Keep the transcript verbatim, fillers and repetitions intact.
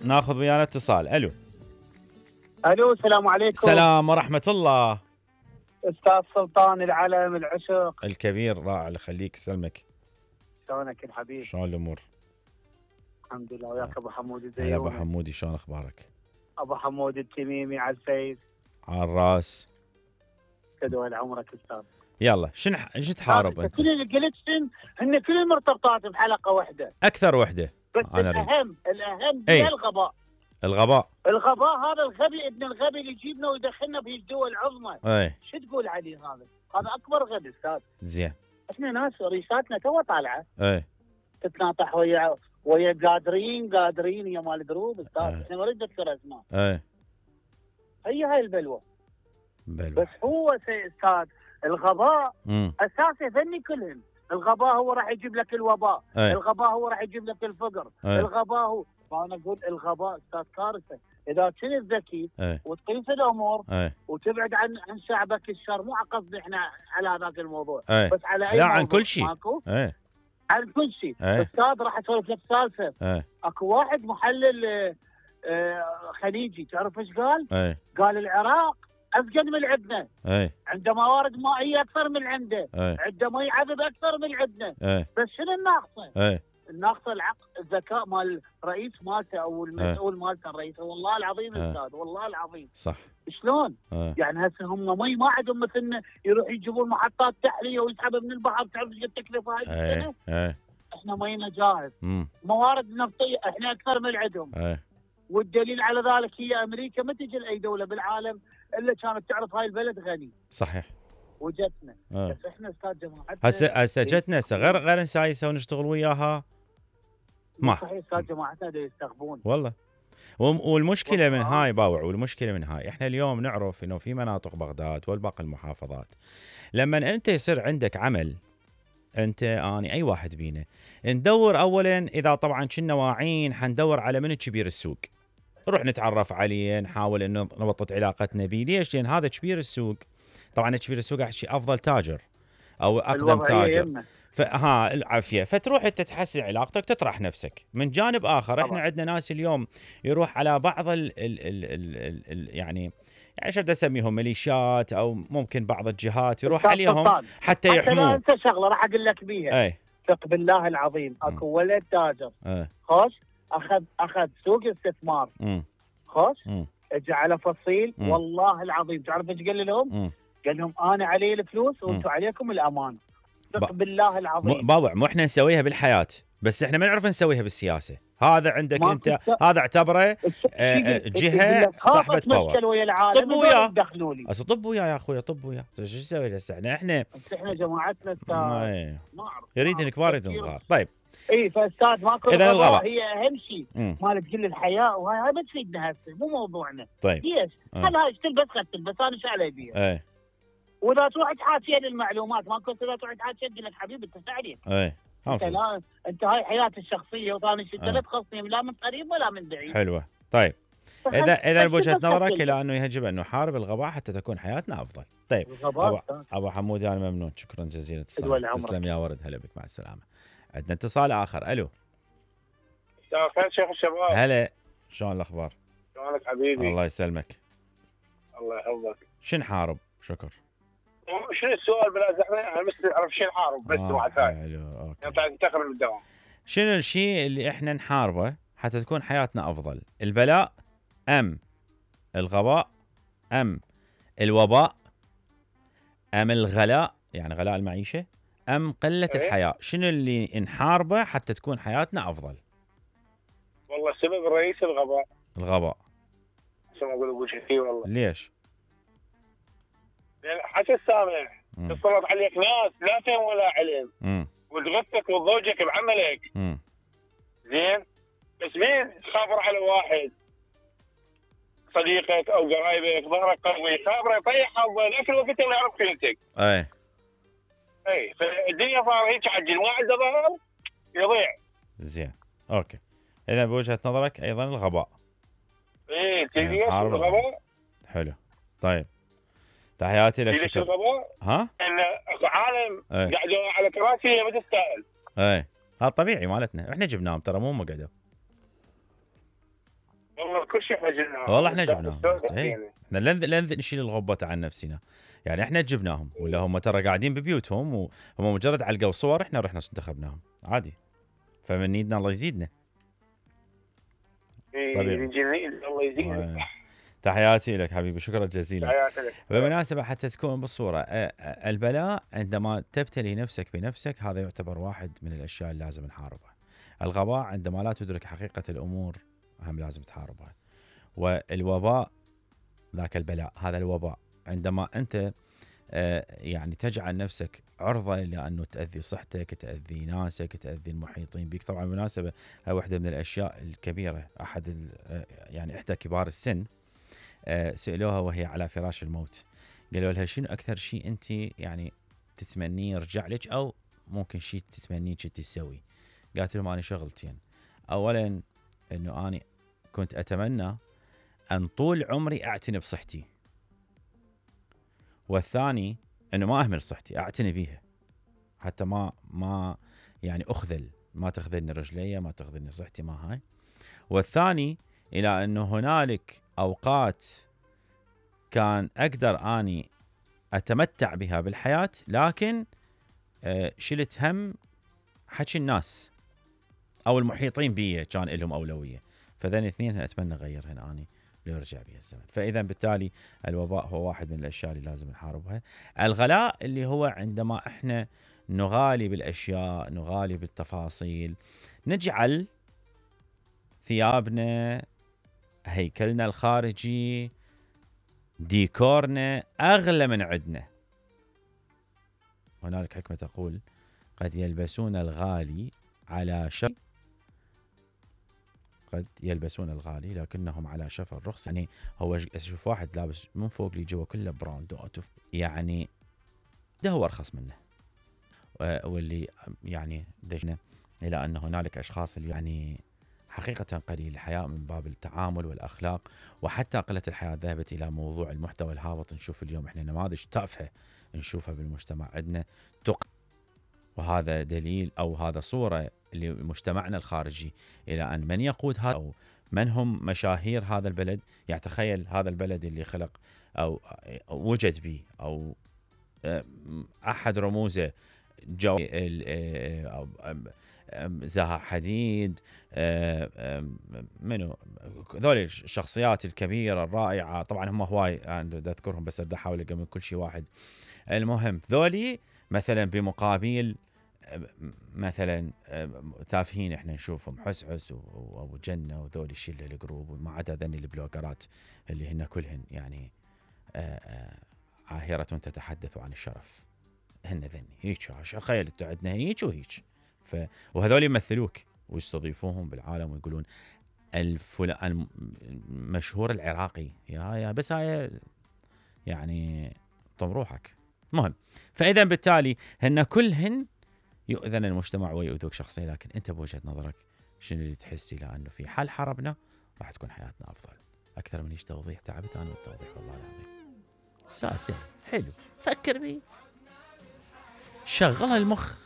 ناخذ ويانا اتصال. الو الو السلام عليكم. السلام ورحمه الله. استاذ سلطان العلم العشق الكبير رائع الله يخليك يسلمك. شلونك يا حبيبي؟ شلون الامور؟ الحمد لله. وياك ابو حمود هلا الزيوني. ابو حمودي شلون اخبارك؟ ابو حمود التميمي على الفيس. على الراس. تدول عمرك استاذ. يلا شنو شو تحارب انت؟ كل اللي قلت شن هن كلهم مرتبطات بحلقه واحده. اكثر وحده. بس الاهم الاهم هي هي الغباء. الغباء. الغباء هذا الغبي ابن الغبي اللي يجيبنا ويدخلنا بهي الدول العظمى. اي شو تقول عليه هذا؟ هذا اكبر غبي استاذ. زين. احنا ناس ريشاتنا تو طالعه. اي تتناطح ويا ويا قادرين قادرين يا مال دروب استاذ. أي. احنا ما نريد نذكر اسماء. اي هي هاي البلوه. بلوى. بس هو سي استاذ الغباء امم اساسه فني كلهن. الغباء هو راح يجيب لك الوباء. أي. الغباء هو راح يجيب لك الفقر. أي. الغباء هو فانا اقول الغباء استاذ كارثه. اذا كنت ذكي اي وتقيس الامور اي وتبعد عن عن شعبك الشر. مو على قصدي احنا على هذاك الموضوع أي. بس على اي لا موضوع عن كل شيء. ماكو اي عن كل شيء. أي. استاذ راح اسولف لك سالفه. اي اكو واحد محلل آه، آه، خليجي تعرف ايش قال؟ اي قال العراق ازقد من عندنا. اي عنده موارد مائيه اكثر من عنده. اي عنده مي عذب اكثر من عندنا. اي بس شنو الناقصه؟ اي الناقصه العقل الذكاء مال الرئيس مالته او المسؤول مالته الرئيس. والله العظيم أي. استاذ والله العظيم. صح. شلون؟ اي يعني هسه هم مي ما عندهم مثلنا يروح يجيبون محطات تحليه ويسحبها من البحر. تعرف ايش التكلفه هاي السنه؟ اي اي احنا مينا جاهز. امم موارد نفطيه احنا اكثر من عندهم. اي والدليل على ذلك هي امريكا ما تجي لاي دوله بالعالم الا كانت تعرف هاي البلد غني. صحيح. وجتنا. آه. بس احنا استاذ جماعتنا هسه هسه جتنا هسه غير غير نسايسه ونشتغل وياها ما صحيح استاذ جماعتنا دا يستغبون والله. وم- والمشكله من هاي باوع والمشكله من هاي احنا اليوم نعرف انه في مناطق بغداد والباقي المحافظات لما انت يصير عندك عمل انت اني اي واحد بينا ندور اولا اذا طبعا كنا واعين حندور على من كبير السوق نروح نتعرف عليه نحاول انه نبطط علاقتنا بيه. ليش؟ لان هذا كبير السوق طبعا كبير السوق احكي افضل تاجر او اقدم تاجر فها العافيه فتروح انت تحسن علاقتك تطرح نفسك. من جانب اخر احنا عندنا ناس اليوم يروح على بعض ال ال ال ال ال ال يعني يعني شو بدي اسميهم ميليشيات او ممكن بعض الجهات يروح عليهم حتى يحموه. انت شغله راح اقول لك بيها. اي ثق بالله العظيم اكو ولد تاجر اي خوش اخذ اخذ سوق استثمار امم خوش امم اجى على فصيل. مم. والله العظيم تعرف ايش قال لهم؟ امم قال لهم انا علي الفلوس وانتم عليكم الامان. ثق بالله العظيم. باوع مو احنا نسويها بالحياه بس احنا ما نعرف نسويها بالسياسه. هذا عندك ما انت كنت- هذا اعتبره آه، آه، جهه صاحبه باور. ويا العالم طب وياه. دخلوا لي. هسه طب وياه يا اخوي طب وياه شو نسوي هسه احنا احنا بس احنا جماعتنا استاذ ما ما اعرف يريد ما الكبار أعرف. يريدون صغار. طيب اي فاستاذ ماكو إذا الغباء الغباء. هي اهم شيء مم. مالت كل الحياه. وهاي هاي ما تفيدنا هسه مو موضوعنا. طيب ليش؟ آه. هل هاي تلبس خد تلبس انا شو علي بيها؟ ايه واذا تروح تحاكي المعلومات ماكو اذا تروح تحاكي تقول لك حبيبي انت عليك. ايه انت لا انت هاي حياتي الشخصيه وثاني شيء انت آه. لا تخصني لا من قريب ولا من بعيد. حلوه. طيب فهل- اذا اذا هل بوجهه تلبس نظرك خد الى انه يجب ان نحارب الغباء حتى تكون حياتنا افضل. طيب الغباء ابو, أستاذ. أبو حمود انا ممنون شكرا جزيلا تدول اتصالك. عمرك. تسلم يا ورد هلا بك مع السلامه. عندنا اتصال اخر. الو مساء الخير شيخ الشباب. هلا شلون الاخبار؟ شلونك حبيبي؟ الله يسلمك. الله يحفظك. شو نحارب؟ شكر. شنو السؤال بلا زحمه؟ انا بس اعرف شنو نحارب بس آه واحد ثاني. حلو اوكي. انت تنتقل من الدوام. شنو الشيء اللي احنا نحاربه حتى تكون حياتنا افضل؟ البلاء ام الغباء ام الوباء ام الغلاء يعني غلاء المعيشه ام قله إيه؟ الحياه؟ شنو اللي نحاربه حتى تكون حياتنا افضل؟ والله السبب الرئيسي الغباء. الغباء. شو ما اقول ابو شفي والله. ليش؟ لان حتى السامح مم. تسلط عليك ناس لا فهم ولا علم امم وتغثك وتضوجك بعملك. امم زين؟ بس مين خابر على واحد صديقك او قرايبك ظهرك قوي خابره يطيحها وذاك الوقت اللي يعرف قيمتك. اي اي فالدنيا صار هيك عجل ما عنده ظهر يضيع. زين اوكي. اذا بوجهه نظرك ايضا الغباء. ايه تدري إيه، عارف الغباء؟ حلو. طيب تحياتي لك. ليش شكرا. الغباء؟ ها؟ ان اكو عالم ايه قاعدوا على كراسي ما تستاهل. اي هذا طبيعي مالتنا احنا جبناهم ترى مو هم قعدوا. والله كل شيء احنا جبناه. والله احنا جبناهم. احنا لن لن نشيل الغبة عن نفسنا. يعني احنا جبناهم ولا هم ترى قاعدين ببيوتهم وهم مجرد علقوا صور احنا رحنا انتخبناهم عادي. فمن يدنا الله يزيدنا. طبيعي. الله يزيدنا. تحياتي لك حبيبي، شكرا جزيلا. تحياتي لك. بالمناسبة حتى تكون بالصورة، البلاء عندما تبتلي نفسك بنفسك هذا يعتبر واحد من الأشياء اللي لازم نحاربها. الغباء عندما لا تدرك حقيقة الأمور هم لازم تحاربها. والوباء ذاك البلاء، هذا الوباء عندما أنت يعني تجعل نفسك عرضة لأنه تأذي صحتك، تأذي ناسك، تأذي المحيطين بك. طبعا بالمناسبة هاي واحدة من الأشياء الكبيرة. أحد يعني إحدى كبار السن سألوها وهي على فراش الموت، قالوا لها شنو أكثر شيء أنت يعني تتمنيه يرجع لك أو ممكن شيء تتمنيه كنت تسوي؟ قالت لهم أنا شغلتين. أولا أنه أنا كنت أتمنى أن طول عمري أعتني بصحتي، والثاني أنه ما أهمل صحتي، أعتني بيها حتى ما ما يعني أخذل، ما تخذلني رجلي، ما تخذلني صحتي، ما هاي. والثاني إلى أنه هنالك أوقات كان أقدر أني أتمتع بها بالحياة لكن شلت هم حكي الناس أو المحيطين بي كان لهم أولوية. فذين اثنين أتمنى أغيرهن أني ليرجع بها الزمن. فإذا بالتالي الوباء هو واحد من الأشياء اللي لازم نحاربها. الغلاء اللي هو عندما إحنا نغالي بالأشياء، نغالي بالتفاصيل، نجعل ثيابنا، هيكلنا الخارجي، ديكورنا أغلى من عندنا. هنالك حكمة تقول قد يلبسون الغالي على شفا قد يلبسون الغالي لكنهم على شفا الرخص. يعني هو اشوف واحد لابس من فوق لي جوا كله براندات، يعني ده هو ارخص منه. واللي يعني دجنا الى ان هنالك اشخاص اللي يعني حقيقة قليل الحياء من باب التعامل والأخلاق، وحتى قلة الحياء ذهبت إلى موضوع المحتوى الهابط. نشوف اليوم إحنا نماذج تافهة نشوفها بالمجتمع عندنا تق، وهذا دليل أو هذا صورة لمجتمعنا الخارجي إلى أن من يقود هذا أو من هم مشاهير هذا البلد. يعني تخيل هذا البلد اللي خلق أو وجد به أو أحد رموزه جو زها حديد، منو ذول الشخصيات الكبيرة الرائعة. طبعا هم هواي يعني أذكرهم بس بدي أحاول أجمع كل شيء واحد. المهم ذولي مثلا بمقابل مثلا تافهين احنا نشوفهم حسحس وابو جنة وذولي الشله الجروب، وما عدا ذني البلوجرات اللي هن كلهن يعني عاهرة تتحدث عن الشرف. هن ذني هيك تخيل انتوا عندنا هيك وهيك. ف وهذول يمثلوك ويستضيفوهم بالعالم ويقولون الفلان المشهور العراقي يا يا بس هاي يعني طم روحك. مهم. فاذا بالتالي هن كلهن يؤذن المجتمع ويؤذوك شخصيا، لكن انت بوجهة نظرك شنو اللي تحسي لانه في حال حربنا راح تكون حياتنا افضل؟ اكثر من ايش توضيح تعبت انا بالتوضيح والله العظيم. سؤال سهل حلو، فكر بيه، شغل المخ.